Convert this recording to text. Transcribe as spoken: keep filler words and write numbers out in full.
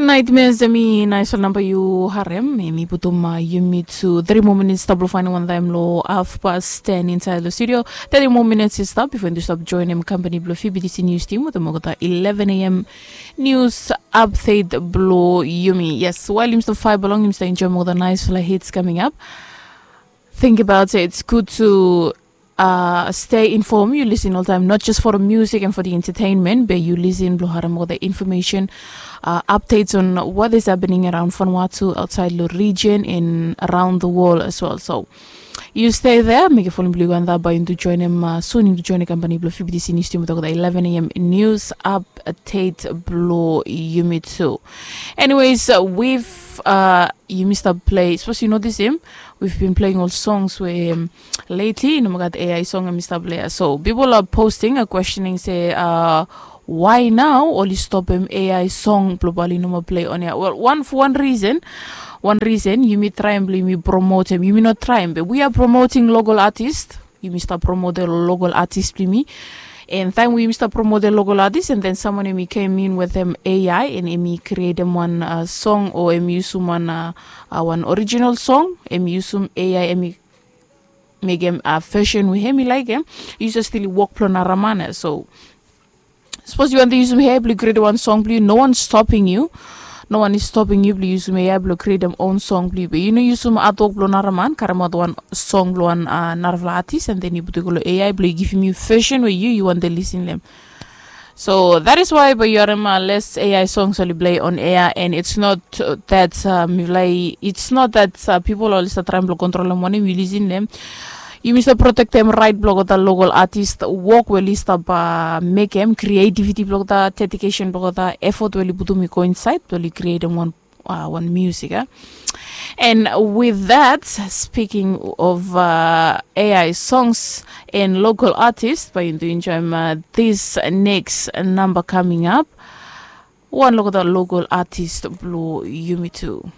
Naetmea, em i naesfala namba yu harem, em i putum yumi tu tri moa minits i stap blong faenem wantaem long hafpas ten insaed long studio. Tri moa minits i stap bifo yumi tu stap joenem kampani blong fibidisi nius tim wetem olgeta eleven a.m. nius apdet blong yumi. Yes, wael yumi stap faev blong yumi stap enjoem olgeta naesfala hits kaming ap. Think about it, it's good to uh, stay informed. You listen all the time, not just for the music and for the entertainment, but you listen blong harem olgeta information, uh, updates on what is happening around Vanuatu, outside the region, and around the world as well. So you stay there. Mekem folem blong yu go antap bae yumi tu joenem, uh, soon yumi tu joenem kampani blong fibidisi nius tim wetem olgeta eleven a.m. nius update blong yumi tu. Anyways, uh, we've uh, yumi stap play, sapos yu notisim, we've been playing ol songs we, um, lately i no moa gat A I song yumi stap play. So people are posting a questioning se, uh, why now oli stopem A I song blong bae oli no moa play on air? Well, wan, for one reason, wan reason yumi traem blong yumi promotem, yumi no traem, but we are promoting local artist. Yumi stap promotem local artist blong yumi. And taem we yumi stap promotem local artist, and then someone em i kem in wetem A I and em i krietem wan, uh, song o em i yusum wan, uh, uh, wan original song, em i yusum A I, em i mekem, uh, version we hem i laekem, yu jes stil i wok blong nara man ya. So sapos yu wantem yusum A I blong yu krietem wan song blong yu, no one is stopping you. No one is stopping you blong yusum A I blong krietem own song blong yu. Be yu no yusum artwok blong nara man, karemaot wan song blong wan, uh, narafala artist, and then yu putum i go long A I blong i givim yu version we yu, yu wantem lisin long hem. So that is why bae yu harem, uh, less A I songs oli play on air, and it's not, uh, that, uh, mifala i, it's not that, uh, people oli stap traem blong kontrolem wanem yu lisin long hem. Yumi stap protektem raet blong olgeta local artist, wok we oli stap, uh, mekem, creativity blong olgeta, dedication blong olgeta, effort we oli putum i go insaed blong oli krietem wan, uh, wan music, eh? And with that, speaking of, uh, A I songs and local artist, bae yumi tu enjoem, uh, this next number coming up. Wan olgeta local artist blong yumi tu.